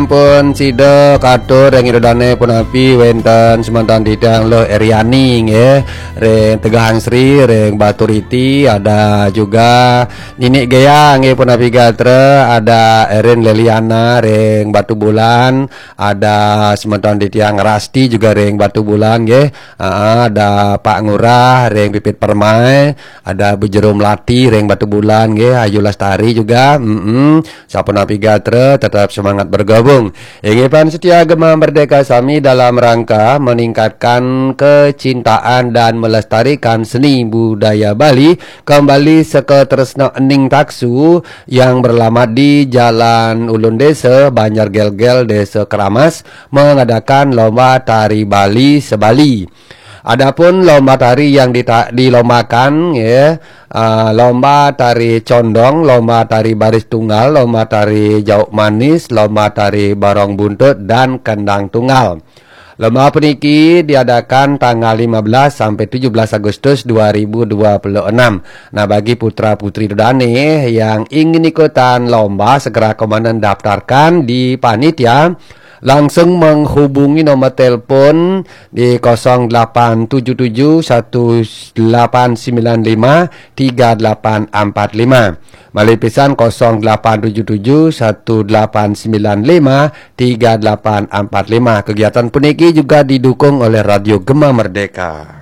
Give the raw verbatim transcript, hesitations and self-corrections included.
Pun sida katur ring ida dane punapi wenten semeton titiang Luh Eriani nggih, ring Tegahan Sri, ring Baturiti, ada juga Nini Gea nggih punapi gatra, ada Erin Leliana ring Batubulan, ada semeton titiang Rasti juga ring Batubulan nggih. Aa, ada Pak Ngurah ring Pipit Permai, ada Bu Jero Melati ring Batubulan nggih, Ayu Lestari juga. Mm-mm. Sapunapi gatra, tetap semangat bergabung. Inggih pan setia Gema Merdeka sami dalam rangka meningkatkan kecintaan dan melestarikan seni budaya Bali, kembali Seka Tresna Ening Taksu yang beralamat di Jalan Ulun Desa, Banjar Gelgel, Desa Keramas, mengadakan lomba tari Bali se-Bali. Adapun lomba tari yang dita-, dilombakan, ya, ah, lomba tari condong, lomba tari baris tunggal, lomba tari jauk manis, lomba tari barong buntut, dan kendang tunggal. Lomba puniki diadakan tanggal lima belas sampai tujuh belas Agustus dua ribu dua puluh enam. Nah, bagi putra-putri dane yang ingin ikutan lomba, segera komandan daftarkan di panitia. Langsung menghubungi nomor telepon di kosong delapan tujuh tujuh satu delapan sembilan lima tiga delapan empat lima. Malih pisan, kosong delapan tujuh tujuh satu delapan sembilan lima tiga delapan empat lima. Kegiatan puniki juga didukung oleh Radio Gema Merdeka.